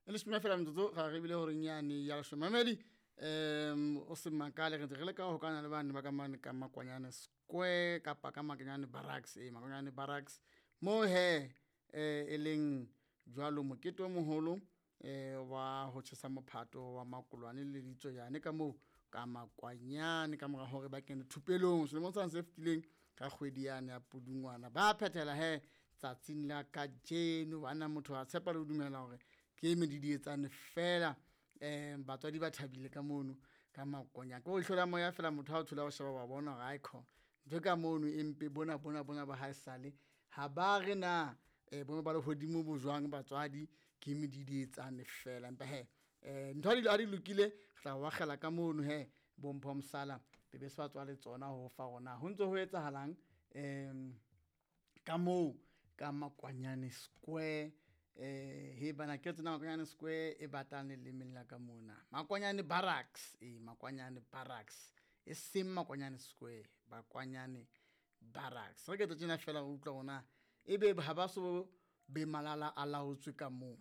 E leshome fela metsotso ga re bile horeng yane ya leshome. Mamedi, o se makale, re ntse re leka ho hokana le bane ba ka mane ka Makwanyane Square kapa ka Makwanyane Barracks. Ee, Makwanyane Barracks moo he e leng jwalo mokete o moholo wa ho tjhesa mophato wa makolwane le ditsoyane ka moo ka Makwanyane, ka mora hore ba kene thupelong selemong sane se fetileng ka kgwedi yane ya Pudungwana. Ba phethela he tsatsing la kajeno. Banna, motho a tshepa le ho dumela hore ke medidietsane fela. Batswadi ba thabile ka mono ka Makwanyane, ko ihlo la moya fela motho ha o thola o sheba wa bona hore aikhona ntho ka mono empe bona bona bona ba ha esale ha ba re na boemo ba lehodimo bo jwang batswadi, ke medidietsane fela. Empa he ntho ha di lokile, re tla o akgela ka mono he bo Mpho Mosala be be se ba tswa le tsona ho fa hore na ho ntso ho etsahalang ka moo ka Makwanyane Square. He bana ke tsena Makwanyane Square e batang lelemeng la ka mona, Makwanyane Barracks. Ee, Makwanyane Barracks, e seng Makwanyane Square, Makwanyane Barracks. Re ke tjena fela re utlwa hore na ebe ha ba so be malala a laotswe ka moo.